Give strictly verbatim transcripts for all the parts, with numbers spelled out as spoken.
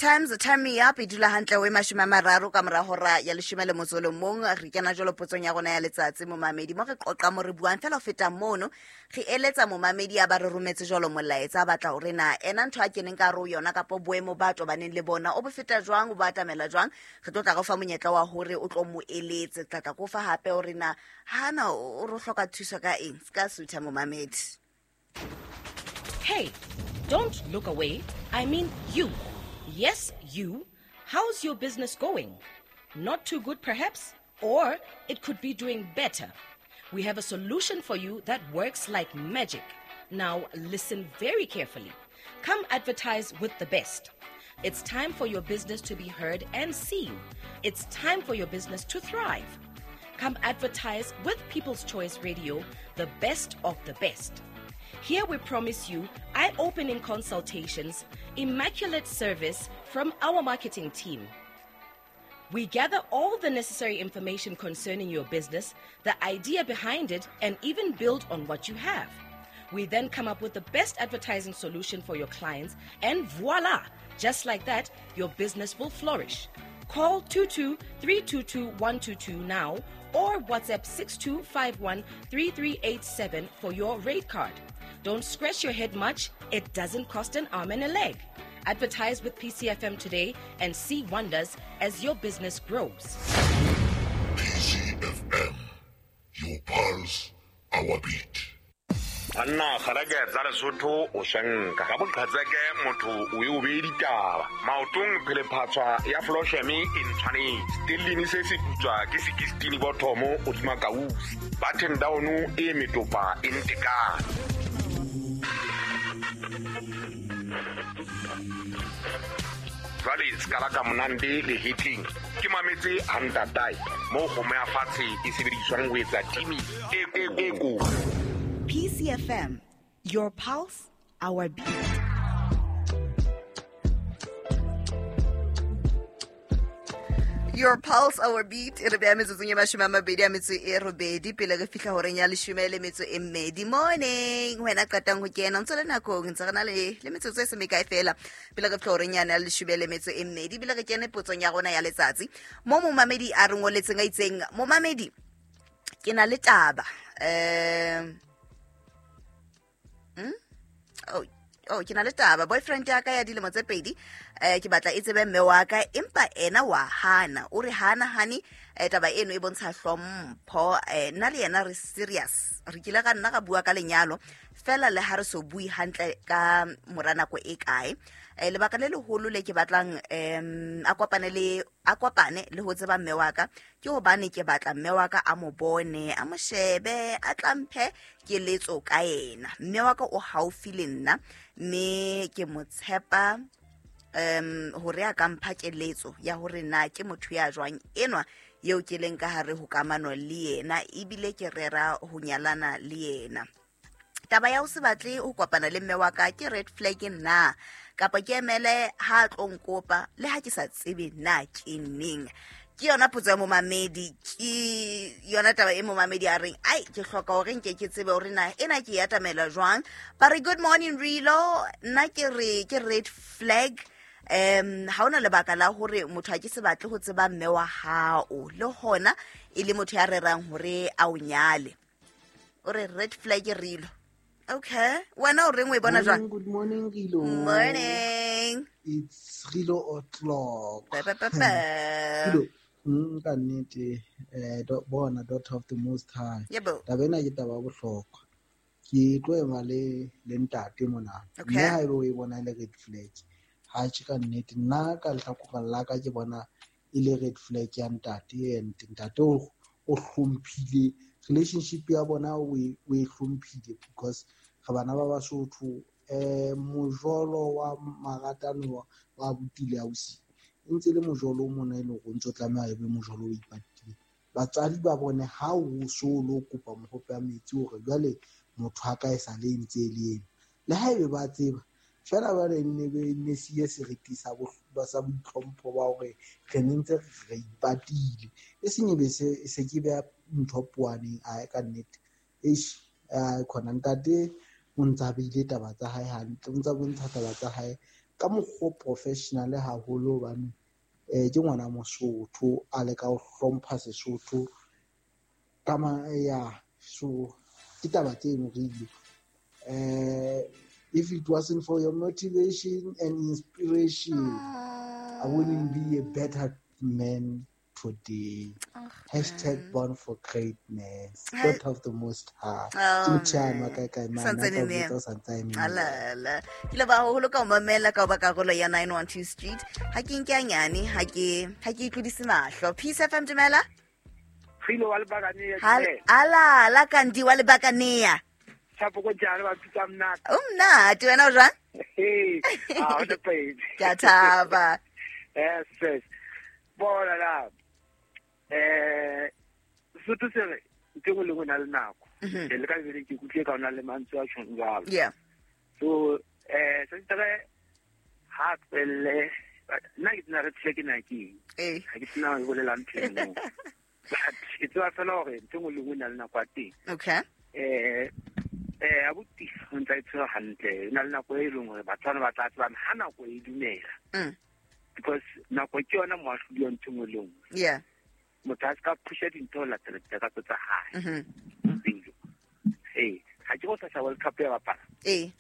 Times Turn Me Up e dula hantle o e mashome a mararo ka mora hora ya leshome le motso o le mong. Re kena jwalo potsong ya rona ya letsatsi, momamedi, mo re qoqa mo re buang fela ho feta mono, re eletsa momamedi a ba re rometse jwalo molaetsa a batla hore na ena ntho a keneng ka hare ho yona kapa boemo ba tobaneng le bona o bo feta jwang, o ba atamela jwang. Re tlo tla re o fa monyetla wa hore o tlo mo eletse, tla tla ko fa hape hore na hana o re hloka thuso ka eng. Se ka sutha, momamedi. Hey, don't look away. I mean you. Yes, you. How's your business going? Not too good, perhaps? Or it could be doing better. We have a solution for you that works like magic. Now, listen very carefully. Come advertise with the best. It's time for your business to be heard and seen. It's time for your business to thrive. Come advertise with People's Choice Radio, the best of the best. Here we promise you eye-opening consultations, immaculate service from our marketing team. We gather all the necessary information concerning your business, the idea behind it, and even build on what you have. We then come up with the best advertising solution for your clients, and voila! Just like that, your business will flourish. Call two two three two two one two two now or WhatsApp six two five one three three eight seven for your rate card. Don't scratch your head much. It doesn't cost an arm and a leg. Advertise with P C F M today and see wonders as your business grows. P C F M, your pulse, our beat. Banna kgareke tsa Lesotho o shanka ka boqhatseke motho o e o be ditaba maotong phele phatswa ya Flosheme e ntshwanetse stellini se se putswa ke sixteen bothomo o tsuma kausi button down e metopa e ntekana. Jwale skala ka monande le hitling ke mametse hantatai mo kgomo ya fatshe e sebediswang ho etsa timi e e ko. P C F M, your pulse, our beat. Your pulse, our beat. E re beha metsotsong e mashome a mabedi a metso e robedi pele re fihla horeng ya leshome le metso e mmedi. Morning, wena qetang ho kena ntse le nakong ntse re na le le metsotso e se mekae fela pele re fihla horeng yana ya leshome le metso e mmedi, ebile re kene potsong ya rona ya letsatsi mo momamedi a re ngoletseng a itseng. Momamedi, ke na le taba um Hmm? Oh, oh, ke na le taba. Boyfriend ya ka ya dilemo tse pedi, eh ke batla e tsebe mme wa ka, empa ena wa hana. O re hana hani, eh taba eno e bontsha hlompho. Eh nna le yena re serious. Re kile ga nna ga bua ka lenyalo, fela le ha re so bui hantle ka mora nako e kae. Eh lebaka le leholo le ke batlang em a kopane le a kopane le ho tseba mme wa ka ke hobane ke batla mme wa ka a mo bone, a mo shebe, a tlamphe keletso ka yena. Mme wa ka o haufi le nna mme ke mo tshepa em hore a ka mpha keletso ya hore na ke motho ya jwang enwa eo ke leng ka hare ho kamano le yena, ebile ke rera ho nyalana le yena. Taba ya ho se batle ho kopana le mme wa ka ke red flag nna, kapa ke emele ha tlo nkopa le ha ke sa tsebe na ke neng. Ke yona potso ya momamedi, ke yona taba e momamedi a reng ai ke hloka hore nke ke tsebe hore na ena ke ya atamela jwang. Ba re good morning Rilo, nna ke re ke red flag. Um ha ona lebaka la hore motho a ke se batle ho tseba mme wa hao le hona e le motho ya rerang hore a o nyale. O re red flag Rilo. Okay, wena o reng o e bona jwang? Good morning Rilo. Morning. It's Rilo o'clock. Ba ba ba ba. Rilo, mm ka nnete eh bona daughter of the most high. Yebo. Taba ena ke taba ya bohlokwa. Ke tlo ema le le ntate mona. Mme ha ebe o e bona le red flag. Ha tjhe ka nnete nna ka lehlakoreng la ka ke bona e le red flag ya ntate, and ntate o o hlomphile relationship ya bona o e hlomphile because re bana ba Basotho. Eh mojolo wa maratano wa botile ausi e ntse le mojolo o mona e leng hore o ntso tlameha e be mojolo o ipatile. Batswadi ba bone ha o so lo kopa mohope ya metsi hore jwale motho a ka e sa le ntse le ena, le ha ebe ba tseba fela ba re ne be ne siye seriti sa bo sa boitlhompho ba hore re ne ntse re ipatile, e seng e be se se ke beha ntho poaneng. A ka nnete eish a khona ntate o ntsa beile taba tsa hae hantle, o ntsa bontsha taba tsa hae Ka mokgwa o professional haholo hobane eh ke ngwana Mosotho a leka ho hlompha Sesotho ka ma ya so ke taba tseno re eh if it wasn't for your motivation and inspiration, I wouldn't be a better man today. Oh, Hashtag man. Born for greatness. Ha- God of the Most High. Oh, Ke motjhana man. kae kae mane, Santsane a tla ne. botsa o santse a eme moo. Alala. Ke leboha haholo ka ho mamela ka ho ba karolo ya nine one two Street. Ha ke nke hanyane, ha ke ha ke itlodise mahlo. Peace F M dumela. Filo wa Lebakane, Hal dumela. ala la kandi wa Lebakanea. Tshapo ko jalo ba pitsa mnate. O mnate wena o jwang? Hey, ah o pedi. Ke a thaba. Yes, yes. Bona la. Eh Sotho se re ntho e nngwe le nngwe e na le nako. Mhm. Ke le ka lebele ke ikutlwe ka o na le mantswe a tjhong jwalo. Yeah. So eh se tsere ha tswelle nna ke tsena re tshe ke na ke eng. Eh. Ha ke tsena ho bolela ntho e nngwe. But ke tseba fela hore ntho e nngwe le nngwe e na le nako ya teng. Okay. Eh eh abuti o ntse a itshwere hantle, e na le nako e leng hore batho bana ba tla tsebana ha nako e dumela. Mm. Because nako ke yona moahlodi wa ntho e nngwe le nngwe. Yeah. Motho a se ka phusha dintho ho latela ditakatso tsa hae. Mhm. Pelo. Ee, ha ke go sasa World Cup ya bapala. Eh.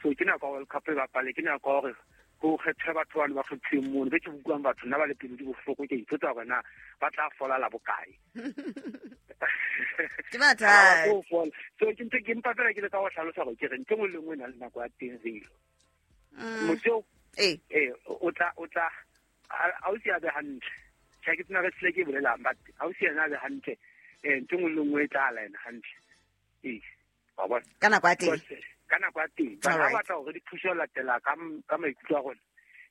So ke nako ya World Cup e bapale, ke nako ya hore ho kgethwe batho bano ba kgethuweng mono. Be ke utlwang batho nna ba le pelo di bohloko, ke ipotsa hore na ba tla fola la bokae. Ke mathata. Ha ba tlo fola. So ke ntho ke mpa fela ke leka ho hlalosa hore ke re ntho e nngwe le nngwe e na le nako ya teng relo. Mm. Motho eo, Eh. eh, o tla, o tla, ha o si a be hantle. Tjhe, ke tsena re tsile ke bolelang, but ha o si yena a be hantle, eh, ntho e nngwe le nngwe e tla laena hantle. Ee, wa bona? Ka nako ya teng. Because, ka nako ya teng. But ha Alright. batla hore di thuse ho latela ka m-, ka maikutlo a rona,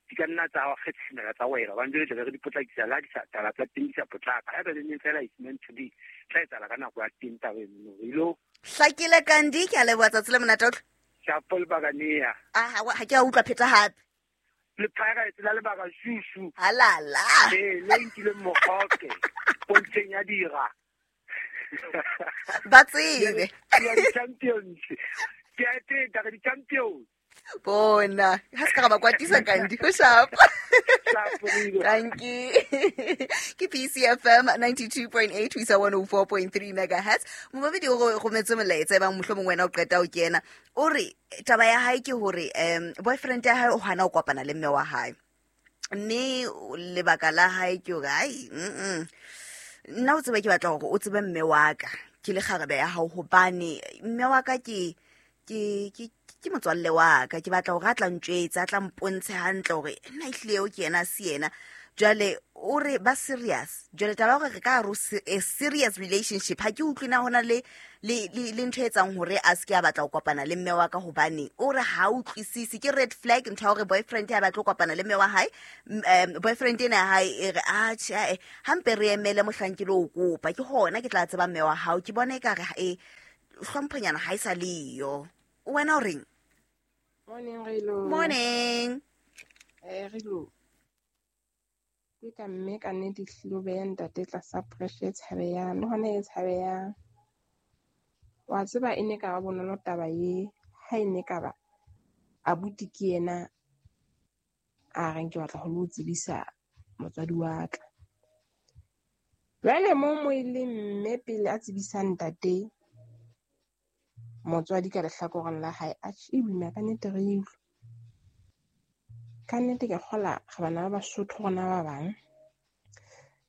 di ka nna tsa kgetshemela tsa wela. Hobane jwale tlabe re di potlakisa le ha di sa taba tsa teng di sa potlaka. Haeba le neng fela it's meant to be, tla etsahala ka nako ya teng taba eno. Re ilo Hlakile Kandi, ke a leboha tsatsi le monate o tle. Shapo Lebakane. Ah, ha ha ke a utlwa pheta hape. Le Pirates la lebaka shushu. Halala. Eh, le nkileng mogoke pontsheng ya dira. Ba tsebe. Ya di-champions. Ke a eteta re di-champions. Bona, ha se ka ra ba kwatisa Kandi, ho sharp. Sharp, Rido. Thank you. Ke P C F M ninety-two point eight ho isa one oh four point three megahertz. Momamedi o ro-, rometse molaetsa e bang mohlomong wena o qeta ho kena. O re taba ya hae ke hore, em, boyfriend ya hae o hana ho kopana le mme wa hae. Mme lebaka la hae ke hore, ai, mm-mm. Nna o tsebe ke batla hore o tsebe mme wa ka, ke le kgarebe ya hao, hobane mme wa ka ke, ke, ke, ke motswalle wa ka, ke batla hore a tla ntjwetsa, a tla mpontshe hantle hore nna ehlile eo ke yena, se yena. Jwale o re ba serious. Jwale taba ya hore re ka re o se-, a serious relationship, ha ke utlwe na hona le, le, le, le ntho e etsang hore a se ke a batla ho kopana le mme wa ka, hobane o re ha utlwisise, ke red flag ntho ya hore boyfriend ya batla ho kopana le mme wa hae. M-, em, boyfriend ena ya hae e re, ah, tjhe, eh, hampe re emele mohlang ke lo kopa, ke hona ke tla tseba mme wa hao. Ke bona ekare ha, eh, hlomphonyana ha e sa le yo. Wena o reng? Morning, Relo. Morning. Eh, Relo. Ke ka mme ka nnete ehlile o beha ntate tlasa pressure e tshabehang, le hona e tshabehang. Wa tseba e ne ka ba bonolo taba e, ha e ne ka ba abuti ke yena a reng ke batla ho lo tsebisa motswadi wa ka. Jwale mo mo e le mme pele a tsebisa ntate motswadi ka lehlakoreng la hae, atjhe, e boima ka nnete re utlwe. Ka nnete ke kgola re bana ba Basotho rona ba bang.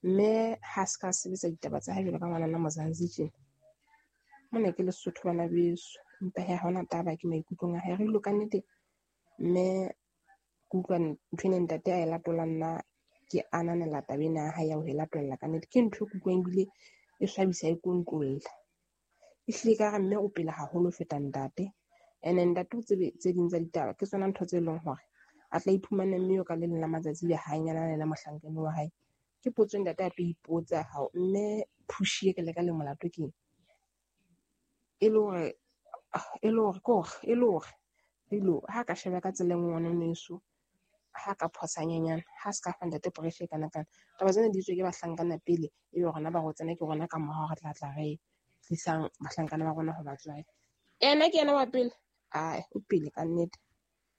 Mme ha se ka sebetsa ditaba tsa hae jwalo ka ngwanana Mozanzi tjena. Mona ke Lesotho bana beso, empa he ha hona taba ke maikutlong a hae. Re ilo ka nnete mme ke utlwa ntho ena ntate a e latola, nna ke ananela taba ena ya hae ya ho e latolla ka nnete. Ke ntho e ke utlwang ebile e swabisa e kontlolla. Ehlile ka re mme o pele haholo ho feta ntate. Ene ntate o tsebe tse ding tsa ditaba ke tsona ntho tse leng hore a tla iphumana mme eo ka le leng la matsatsi be ha nyalana le mohlankana wa hae. Ke potso ntate a tlo ipotsa hao mme push e ke le ka le molato keng? E le hore, e le hore, ke hore, e le hore, Rilo, ha ka sheba ka tsela e nngwe ngwana weso, ha ka phosa nyenyana, ha se ka fa ntate pressure e kana kana. Taba tsena di tswe ke bahlankana pele, ebe rona ba rotsana ke rona ka morao re tla tla re tlisang bahlankana ba rona ho batswadi. Ena ke yena wa pele? Ai, o pele ka nnete.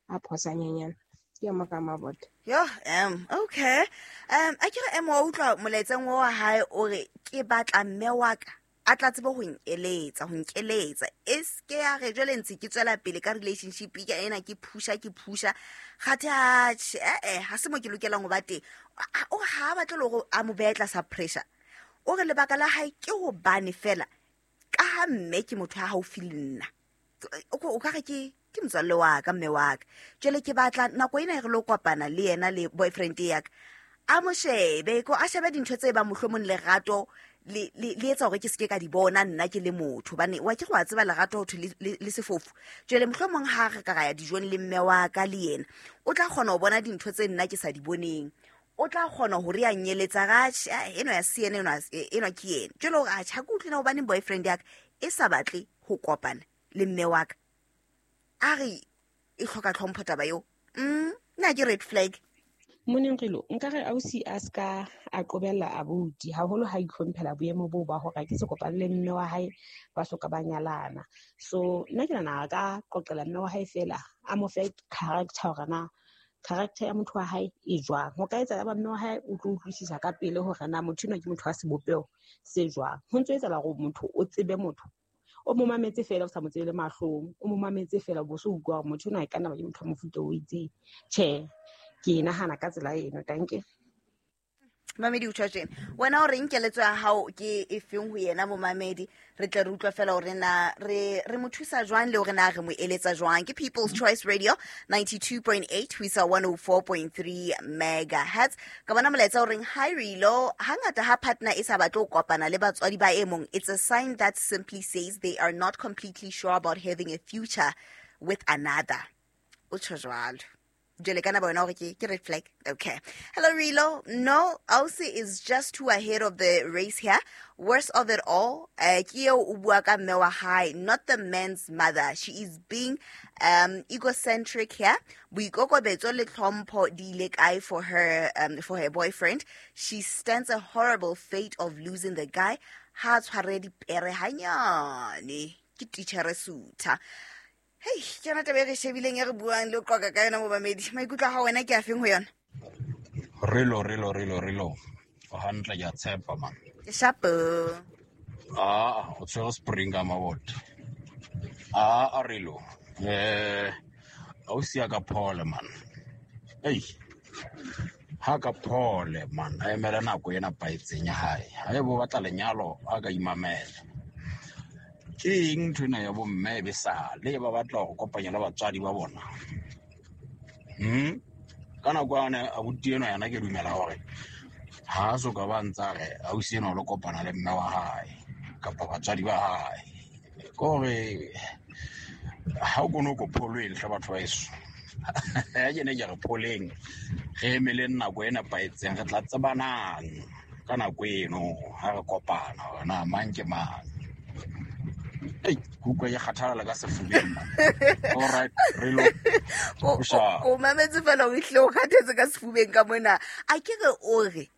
A phosa nyenyana. Ke ya moka mabota. Yo, um okay. Um a ke re em wa utlwa molaetseng wa hae o re ke batla mme wa ka a tla tsebe ho nkeletsa ho nkeletsa e ske ya re jwale ntse ke tswela pele ka relationship ke ena ke phusha ke phusha kgathe atjhe eh eh ha se mo ke lokelang ho ba teng. O ha ba tle hore a mo beha tlasa pressure. O re lebaka la hae ke hobane fela ka ha mme ke motho ha haufi le nna. O ka re ke ke motswalle wa ka mme wa ka. Jwale ke batla nako ena re lo kopana le yena le boyfriend ya ka. A mo shebe ko a shebe dintho tse ba mohlomong lerato le le le etsa hore ke seke ka di bona nna ke le motho bane wa ke go a tseba lerato ho thwe le sefofu. Jwale mohlomong ha re ka ra ya dijong le mme wa ka le yena o tla kgona ho bona dintho tse nna ke sa di boneng. O tla kgona hore ya nyeletsa ga eno ya se ena eno eno ke yena. Jwale hore a tjha ke utlwina hobane boyfriend ya ka e sa batle ho kopana le mme wa ka. A re e hloka tlhompho taba eo. Mm nna ke red flag. Morning Rilo, nka re ausi a ska a qobella abuti haholo ha itlhomphela boemo boo ba hore ke se kopane le mme wa hae ba soka ba nyalana. So nna ke nahana ka qoqela mme wa hae fela a mo fe character hore na character ya motho wa hae e jwang. Ho ka etsa ba mme wa hae o tlo utlwisisa ka pele hore na motho enwa ke motho wa sebopeho se jwang. Ho ntso etsahala hore motho o tsebe motho o mo mametse fela o sa mo tsebele mahlong, o mo mametse fela bo so utlwa hore motho enwa e ka nna ba ke motho wa mofuta o itseng. Tjhe, ke nahana ka tsela eno. Danke. Mamedi o tjho tjena wena o reng keletso ya hao ke e feng ho yena momamedi? Re tle re utlwa fela hore na re re mo thusa jwang le hore na re mo eletsa jwang. Ke People's Choice Radio ninety-two point eight ho isa one oh four point three megahertz. Ka bona molaetsa o reng hi Rilo, hangata ha partner e sa batle ho kopana le batswadi ba e mong, it's a sign that simply says they are not completely sure about having a future with another. O tjho jwalo. Jwale kana bona hore ke ke red flag. Okay. Hello Rilo. No, Ausi is just too ahead of the race here. Worst of it all, uh, ke eo o bua ka mme wa hae, not the man's mother. She is being um egocentric here. Boikokobetso le tlhompho di ile kae for her um for her boyfriend. She stands a horrible fate of losing the guy. Ha tshware dipere hanyane. Ke teacher Sutha. Hey, ke yona taba e re shebileng e re buang le qoqa ka yona momamedi. Maikutlo a hao wena ke a feng ho yona? Relo, relo, relo, relo. O hantle ke a tshepa man. Ke shapo. Ah, o tshwere spring ka mabota. Ah, a relo. Eh, ausi ya ka phole man. Ei. Ha ka phole man. A emela nako ena paetseng ya hae. Ha e bo batla lenyalo a ka imamela. Ke eng ntho ena ya bo mme be sa le ba batla go kopanya le batswadi ba bona. Hmm ka nako ane abuti eno yana ke dumela hore ha so ka ba ntsa re ausi eno lo kopana le mme wa hae kapa batswadi ba hae. Kore ha o kono go pholweng hle batho ba eso. Ya ke ne ke re pholeng re emeleng nako ena paetseng re tla tsebanang ka nako eno ha re kopana hore na mang ke mang. Ei, kuka ya kgathala ka sefubeng. All right, relo. O mametse fela o ihle o kgathetse ka sefubeng ka mona. A ke re o re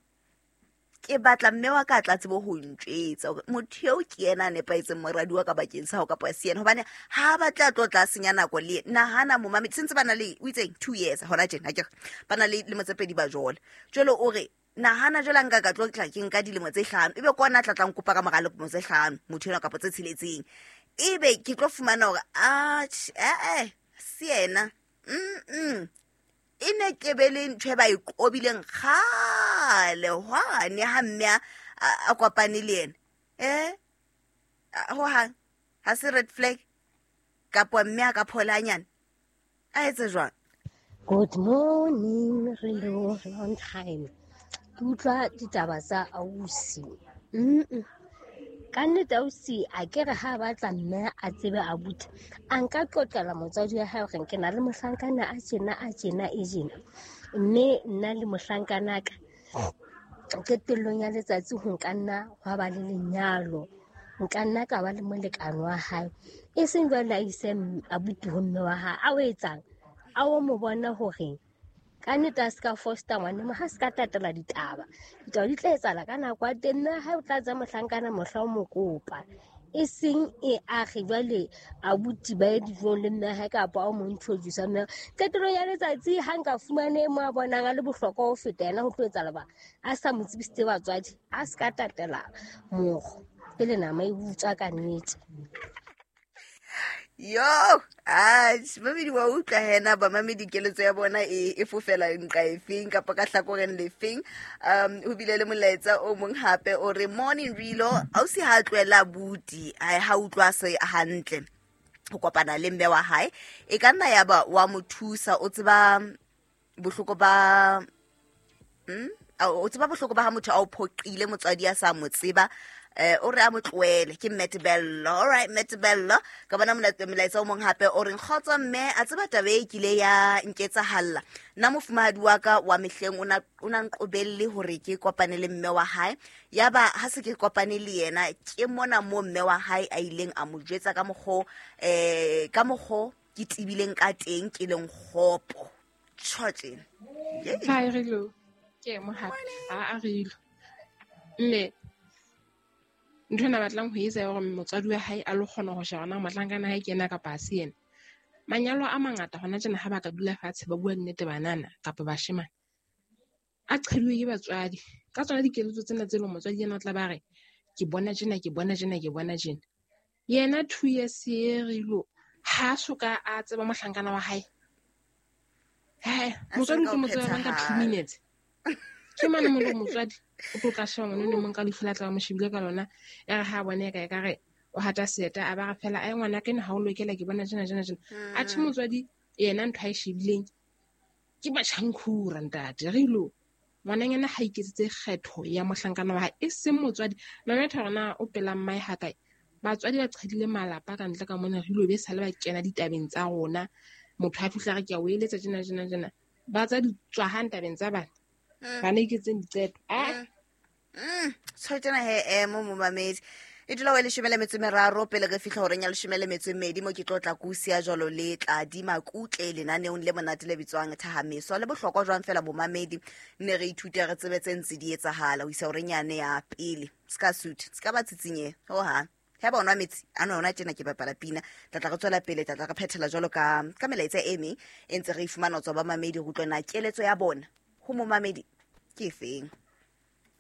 ke batla mme wa ka tla tsebo ho ntjwetsa hore motho eo ke yena a nepahetseng moradi wa ka bakeng sa hao kapa se yena, hobane ha ba tla tlo tla senya nako le nahana momamedi sentse ba na le o itseng two years hona tjena ha ke re ba na le lemo tse pedi ba jola. Jwale o re nahana jwale nka ka tlo tla ke nka dilemo tse hlano ebe kona tla tlang kopa ka mora lemo tse hlano motho ena kapa tse tsheletseng ebe ke tlo fumana hore a eh eh se yena mm e ne ke be le ntho e ba e qobileng kgale hwane ha mme a kopane le yena eh ho hang ha se red flag kapa mme a ka phola hanyane a etse jwang. Good morning Rilo, long time. Ke utlwa ditaba tsa ausi. Mm. Ka nnete ausi a ke re ha batla mme a tsebe abuti. A nka qoqela motswadi wa hae hore ke na le mohlankana a tjena a tjena e jena. Mme nna le mohlankana ka qetellong ya letsatsi ho nka nna hwa ba le lenyalo. Nka nna ka ba le molekane wa hae. E seng jwale a ise abuti ho mme wa hae. A o etsang? A o mo bona hore ka nnete a se ka foster ngwane mo ha se ka tatela ditaba. Ditaba di tla etsahala ka nako ya teng, mme ha o tla tsa mohlankana mohla o mo kopa. E seng e age jwale abuti ba ye dijong le mme hae kapa o mo introduce mme. Qetellong ya letsatsi ha nka fumane mo a bonang a le bohlokwa ho feta yena ho tlo etsahala ba a sa mo tsebisitse batswadi, a se ka tatela mokgo. Pele nama e butswa ka nnete. Yo, ah, mamedi wa utlwa hena ba mamedi keletso ya bona e e fofela nqa efeng kapa ka hlakoreng lefeng. Um ho bile le molaetsa o mong hape o re morning Rilo, ausi ha tlohela buti, ha ha utlwa se hantle ho kopana le mme wa hae. E ka nna ya ba wa mo thusa, o tseba bohloko ba mm o tseba bohloko ba ha motho a o phoqile motswadi a sa mo tseba. Eh o re a mo tlohele ke Metbello. All right Metbello, ka bona molaetsa o mong hape o reng kgotso mme a tseba taba e kile ya nketsahalla. Nna mofumahadi wa ka wa mehleng o na o na nqobelle hore ke kopane le mme wa hae. Ya ba ha se ke kopane le yena ke mona mo mme wa hae a ileng a mo jwetsa ka mokgo eh ka mokgo ke tibileng ka teng ke leng kgopo. Tjhotjeng. Hi Rilo. Ke mo hape. A a Rilo. Mme ntho ena batlang ho etsa hore motswadi wa hae a lo kgona ho sheba na mohlankana hae ke yena kapa ha se yena. Manyalo a mangata hona tjena ha ba ka dula fatshe ba bua nnete banana kapa bashemane, a qheduwe ke batswadi ka tsona dikeletso tsena tse leng motswadi yena o tla ba re ke bona tjena, ke bona tjena, ke bona tjena. Yena two years e Rilo ha so ka a tseba mohlankana wa hae. He, motswadi o tlo mo tseba ka two minutes. Ke mane mo motswadi o tlo tla sheba ngwana o mong ka lefu la tla mo shebile ka lona ya re ha bone ka e ka re o hata seta a ba re fela ai ngwana ke ha o lokela ke bona tjena tjena tjena. A tjhe motswadi yena ntho a e shebileng ke batjhankhura ntate Rilo. Ngwananyana ha iketsetse kgetho ya mohlankana wa hae e seng motswadi. No matter hore na o pela mmae ha kae, batswadi ba qhedile malapa ka ntle ka mona Rilo be sale ba kena ditabeng tsa rona. Motho a fihla re ke a o eletsa tjena tjena tjena, ba tsa di tswa hang tabeng tsa bana. Bana iketseng diqeto. Ah. Mm, tshwetjana he emo momamedi. E dula wa leshome le metso e meraro pele re fihla horeng ya leshome le metso e mmedi mo ke tlo tla kusia jwalo le Tladi Makutle lenaneong le monate le bitswang Thahameso. Le bohlokwa jwang fela bomamedi ne re ithute re tsebe tse ntse di etsahala ho isa horeng yane ya pele. Ska suit, ska ba tsitsinye ho ha. Ha ba onwa metsi a no yona tjena ke bapala pina. Tla tla re tswela pele, tla tla re phethela jwalo ka ka melaetsa e meng e ntse re e fumana ho tswa ba mamedi ho utlwa na keletso ya bona ho momamedi ke efeng.